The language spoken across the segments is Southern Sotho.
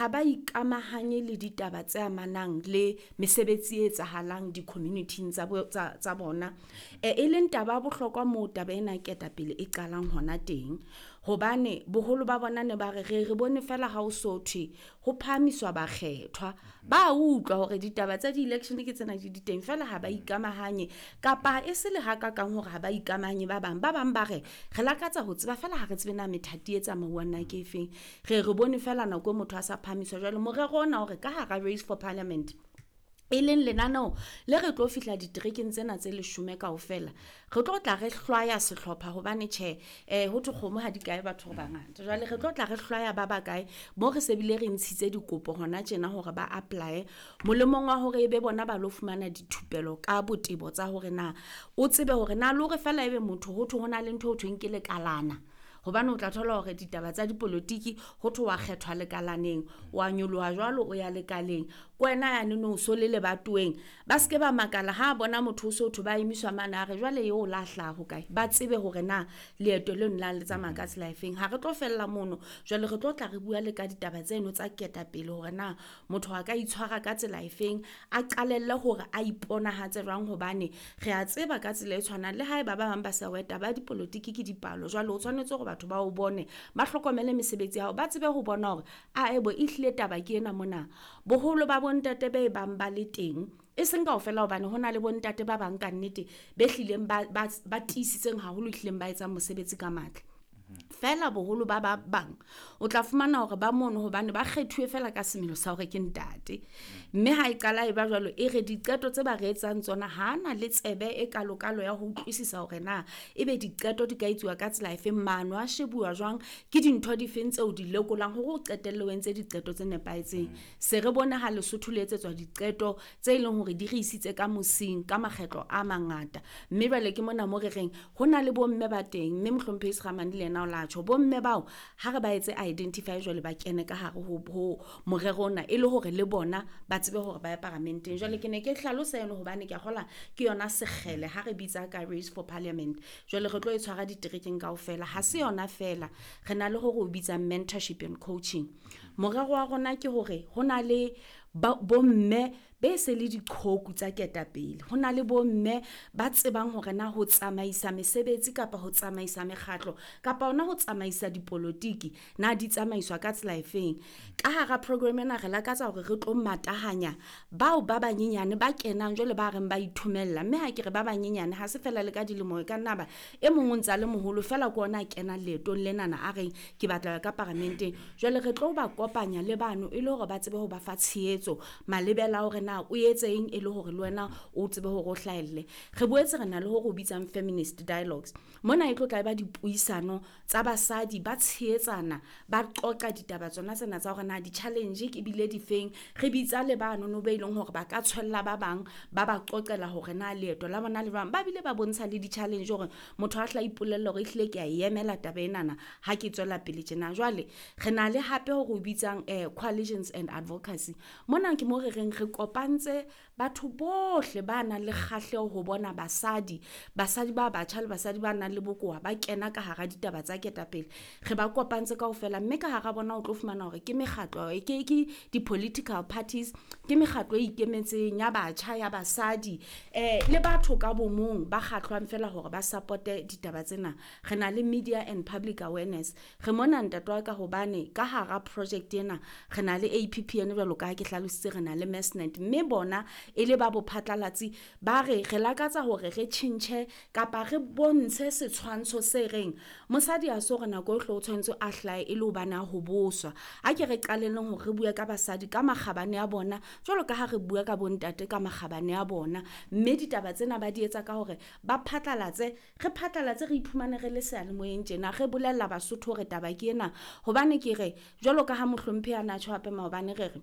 Ha ba ikamahanye le ditaba tse amanang le mesebetsi e etsahalang di-community-ing tsa bona. E leng taba ya bohlokwa moo taba ena ya ketapele e qalang hona teng. Hobane boholo ba bona ne ba re re re bone feela ha o so thwe ho phahamiswa bakgethwa. Ba utlwa hore ditaba tsa di-election ke tsena di di teng feela ha ba ikamahanye kapa e se le hakakang hore ha ba ikamahanye ba bang. Ba bang ba re re lakatsa ho tseba feela ha re tsebe na methati e tsamauwang na ke efeng. Re re bone feela nako e motho a sa phahamiswa. Jwale morero ona hore ka hara Race for Parliament, e leng lenaneo le re tlo fihla diterekeng tsena tse leshome kaofela, re tlo tla re hlwaya sehlopha hobane tjhe, ho thwe kgomo ha di kae batho re bangata. Jwale re tlo tla re hlwaya ba bakae mo re se bile re ntshitse dikopo hona tjena hore ba apply molemong wa hore ebe bona ba lo fumana dithupelo ka botebo tsa hore na o tsebe hore na le hore feela ebe motho ho thwe ho na le ntho e ho thweng ke lekalana. Hobane o tla thola hore ditaba tsa dipolotiki ho thwe wa kgethwa lekalaneng, wa nyoloha jwalo o ya lekaleng, ke wena yane no so le lebatoweng. Ba ske ba makala ha bona motho o so thwe ba emiswa mane a re jwale eo la hlaha ho kae. Ba tsebe hore na leeto leno la le tsamaya ka tsela efeng. Ha re tlo fella mono, jwale re tlo tla re bua le ka ditaba tseno tsa ketapele hore na motho a ka itshwara ka tsela efeng, a qalelle hore a iponahatse jwang hobane re a tseba ka tsela e tshwanang le haeba ba bang ba sa wa taba ya dipolotiki ke dipalo. Jwale o tshwanetse hore batho ba o bone, ba hlokomele mesebetsi ya hao, ba tsebe ho bona hore ae bo ehlile taba ke ena mona. Boholo ba bontate be bang ba le teng, e seng kaofela hobane hona le bontate ba bang ka nnete be hlileng ba tiisitseng haholo, ehlileng ba etsang mosebetsi ka matla. Feela boholo ba ba bang o tla fumana hore ba mono hobane ba kgethuwe feela ka semelo sa hore ke ntate. Mme ha e qala e ba jwalo, e re diqeto tse ba re etsang tsona ha na le tsebe e kalokalo ya ho utlwisisa hore na ebe diqeto di ka etsuwa ka tsela efeng, maano a shebuwa jwang, ke dintho difeng tseo di lekolang hore o qetelle o entse diqeto tse nepahetseng. Se re bone ha Lesotho le etsetswa diqeto tse leng hore di re isitse ka mosing ka makgetlo a mangata. Mme jwale ke mona mo re reng ho na le bomme ba teng, mme mohlomphehi Sekgamane le yena o la tjho. Bomme bao ha re ba etse identify jwale ba kene ka hare ho morero ona e le hore le bona ba tsebe hore ba ye paramenteng. Jwale ke ne ke hlalosa eno hobane ke a kgolwa ke yona sekgele ha re bitsa ka Race for Parliament. Jwale re tlo e tshwara diterekeng kaofela, ha se yona feela, re na le hore o bitsang mentorship and coaching. Morero wa rona ke hore ho na le bomme be se le diqhoku tsa ketapele, ho na le bomme ba tsebang hore na ho tsamaisa mesebetsi kapa ho tsamaisa mekgatlo kapa hona ho tsamaisa dipolotiki na di tsamaiswa ka tsela efeng. Ka hara program ena re lakatsa hore re tlo matahanya bao ba banyenyane ba kenang jwale ba reng ba ithomella. Mme ha ke re ba banyenyane ha se feela le ka dilemo, e ka nna ba e mong o ntsa le moholo feela ke ona a kenang leetong lenana a reng ke batla ho ya ka paramenteng. Jwale re tlo ba kopanya le bano e le hore ba tsebe ho ba fa tshehetso malebela a hore na o etseng e le hore le wena o tsebe hore o hlahelle. Re boetse re na le hore o bitsang feminist dialogues. Mona e tlo tla ba dipuisano tsa basadi ba tshehetsana, ba qoqa ditaba tsona tsena tsa hore na di-challenge ke bile difeng. Re bitsa le banono be leng hore ba ka tshwella ba bang, ba ba qoqela hore na leeto la bona le jwang. Ba bile ba bontsha le di-challenge hore motho a hla ipolella hore ehlile ke a e emela taba enana ha ke tswela pele tjena. Jwale re na le hape hore o bitsang coalitions and advocacy. Mona ke mo re reng re kopantse batho bohle ba nang le kgahleho ho bona basadi, basadi ba batjha le basadi ba nang le bokowa ba kena ka hara ditaba tsa ketapele. Re ba kopantse kaofela, mme ka hara bona o tlo fumana hore ke mekgatlo, ke di-political parties, ke mekgatlo e ikemetseng ya batjha, ya basadi, le batho ka bomong ba kgahlwang feela hore ba supporte ditaba tsena. Re na le media and public awareness. Re mona ntate wa ka hobane ka hara project ena re na le APPN jwalo ka ha ke hlalositse, re na le Mesnet, mme bona e le ba bophatlalatsi ba re re lakatsa hore re tjhentjhe kapa re bontshe setshwantsho se reng mosadi ha se hore nako yohle o tshwanetse a hlahe e le hobane a hoboswa. A ke re qalelleng hore re bue ka basadi ka makgabane a bona jwalo ka ha re bua ka bontate ka makgabane a bona. Mme ditaba tsena ba di etsa ka hore ba phatlalatse, re phatlalatse re iphumane re le seyalemoyeng tjena, re bolella Basotho hore taba ke ena. Hobane ke re jwalo ka ha mohlomphehi a na tjho hape maobane, re re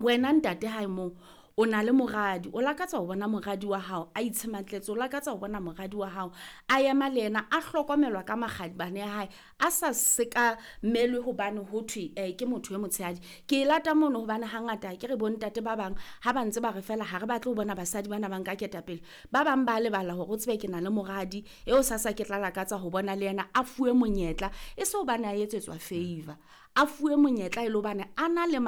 wena ntate hae moo o na le moradi, o lakatsa ho bona moradi wa hao a itshematletse, o lakatsa ho bona moradi wa hao a ema le yena a hlokomelwa ka makgabane a hae, a sa sekamelwe hobane ho thwe ke motho e motshehadi. Ke e lata mono hobane hangata ke re bontate ba bang ha ba ntse ba re feela ha re batle ho bona basadi bana ba nka ketapele, ba bang ba lebala hore o tsebe ke na le moradi eo sasa ke tla lakatsa ho bona le yena a fuwe monyetla, e se hobane a etsetswa favor, a fuwe monyetla e le hobane a na le